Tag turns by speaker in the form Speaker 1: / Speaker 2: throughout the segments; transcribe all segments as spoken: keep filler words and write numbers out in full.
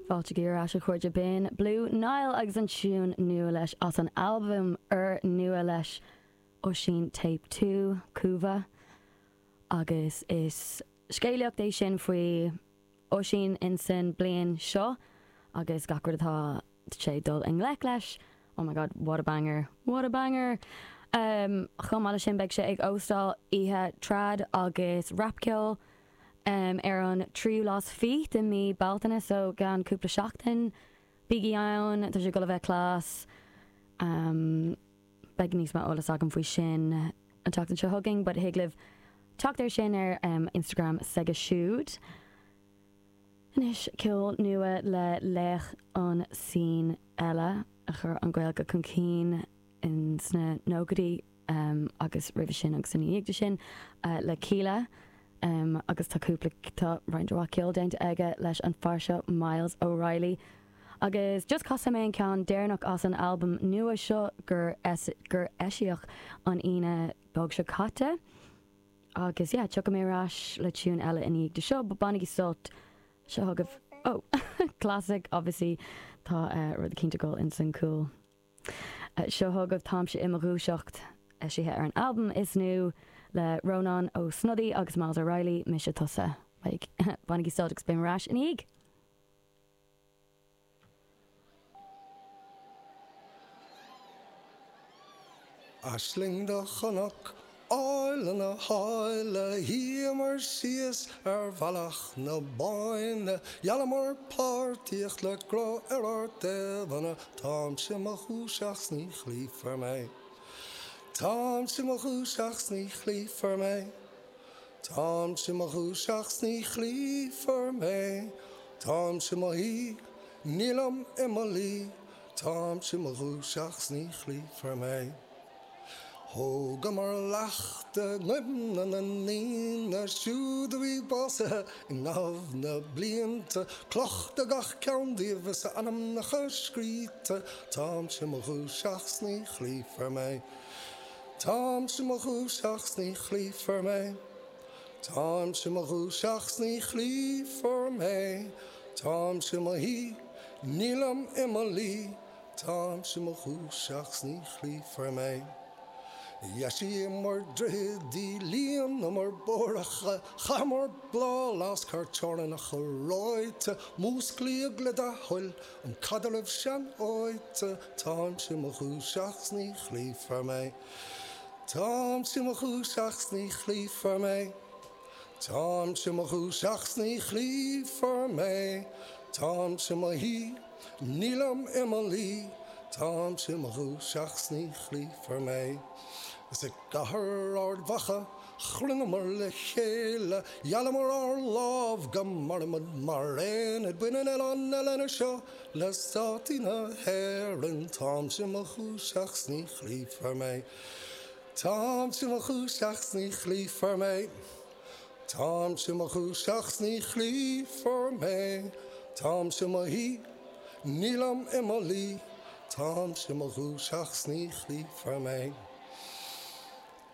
Speaker 1: Fáilte ar ais a chairde b'in Blue Nile agus an tiún nua leis as an albam úr nua leis Oisín Tape Two Cúva agus is scéalaíocht é sin faoi Oisín insan bliain seo agus gach rud atá sé dul i ngleic leis. Oh my god, what a banger, what a banger! Um, chomh maith sin beidh sé ag óstáil oíche trad agus rapceol um, ar an tríú lá fiche de mí Bealtaine so gan cúpla seachtain bígí ann tá sé go bheith class um, beidh níos mó eolas agam faoi sin an tseachtain seo chugainn, but thig libh teacht ar sin ar um, Instagram s'aige siúd. Anois ceol nua le laoch an scene eile a chur an Ghaeilge chun cinn in sna nóchaidí um, agus roimhe sin agus ina dhiaidh sin uh, le Kíla. Um, agus tá cúpla tá roinnt mhaith ceol déanta aige leis an fear seo Miles O'Reilly. Agus just casfaidh mé an ceann deireanach as an album nua seo gur es gur eisíodh an Aoine beag seo caite. Agus yeah, tiocfaidh mé ar ais le tune eile ina dhiaidh seo, bainigí sult seo chugaibh oh classic obviously tá uh, rud cinnte goil in san cool. Uh, seo chugaibh Táimse i mo dhúiseacht eisithe ar an album is nua le Rónán Ó Snodaigh agus Miles O'Reilly mise tusa. Like, bainigí sult agus beidh mé ar ais ina dhiaidh.
Speaker 2: Aisling do chonac áille na háille shuíomar síos ar bhealach na Bóinne, Gheallamar páirtíocht le grá ar ár dtaobhanna Táimse i mo dhúiseacht 's ní chloífear mé. Táimse i mo dhúiseacht 's ní chloífear mé. Táimse i mo dhúiseacht 's ní chloífear mé. Táimse i mo shuí, nílim i mo luí, Táimse i mo dhúiseacht 's ní chloífear mé. Thógamar leacht i gcuimhne na ndaoine siúd a bhí básaithe i gcaitheamh na blianta, Cloch do gach ceann díobh is a n-ainmneacha scríte, Táimse i mo dhúiseacht 's ní chloífear mé. Táimse i mo dhúiseacht 's ní chloífear mé. Táimse i mo dhúiseacht 's ní chloífear mé. Táimse i mo shuí, nílim i mo luí, Táimse i mo dhúiseacht 's ní chloífear mé. Dheisíomar droichid, líonamar bóithreacha, Chaitheamar bláth lasc thar teorainneacha reoite, Músclaíodh le do thoil an caidreamh seanfhaighte, Táimse i mo dhúiseacht 's ní chloífear mé. Táimse i mo dhúiseacht 's ní chloífear mé. Táimse i mo dhúiseacht 's ní chloífear mé. Táimse i mo shuí, nílim i mo luí, Táimse i mo dhúiseacht 's ní chloífear mé. Is i gcathair Ard Mhacha chruinníomar le chéile, Gheallamar ár lámh go mairfimid mar aonad Baineann oileán na linne seo le státaí na hÉireann, Táimse i mo dhúiseacht 's ní chloífear mé. Táimse i mo dhúiseacht 's ní chloífear mé. Táimse i mo dhúiseacht 's ní chloífear mé. Táimse i mo shuí, nílim i mo luí, Táimse i mo dhúiseacht 's ní chloífear mé.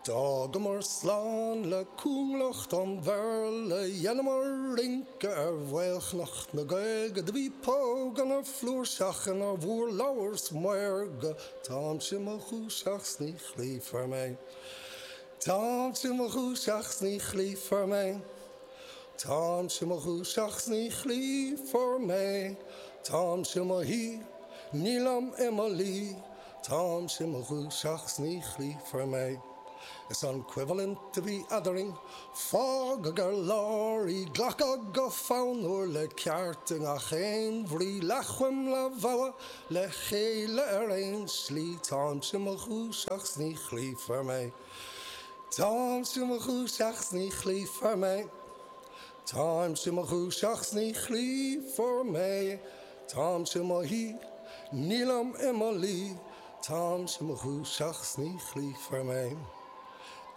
Speaker 2: D'fhágamar slán le cúnglacht an Bhéarla, Dheineamar rince ar mhaolchnoc na Gaeilge, Do bhí póganna flúirseach inár bhurlabhar 's maorga, Táimse i mo dhúiseacht 's ní chloífear mé. Táimse i mo dhúiseacht 's ní chloífear mé. Táimse i mo dhúiseacht 's ní chloífear mé. Táimse i mo shuí, nílim i mo luí, Táimse i mo dhúiseacht 's ní chloífear mé. Is an choimhlint a bhí eadrainn, fágadh ar lár í glacadh go fonnmhar le ceart i ngach aon bhrí leathchoim leathbhogha le chéile ar aon slí Táimse i mo dhúiseacht 's ní chloífear mé. Táimse i mo dhúiseacht 's ní chloífear mé. Táimse i mo dhúiseacht 's ní chloífear mé. Táimse i mo shuí, nílim i mo luí, Táimse i mo dhúiseacht 's ní chloífear mé.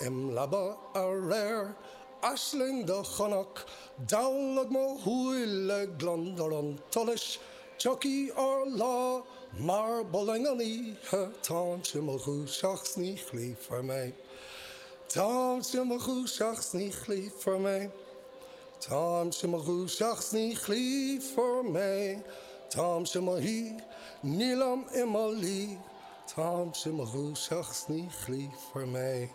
Speaker 2: Im leaba aréir, aisling do chonac, Dallóg mo shúile gliondar an tsolais, Tiocfaidh ár lá mar b'fhulaing an oíche, Táimse i mo dhúiseacht 's ní chloífear mé. Táimse i mo dhúiseacht 's ní chloífear mé. Táimse mo dhúiseacht 's ní chloífear mé, Táimse mo shuí, nílim i mo luí, Táimse mo dhúiseacht 's ní chloífear mé.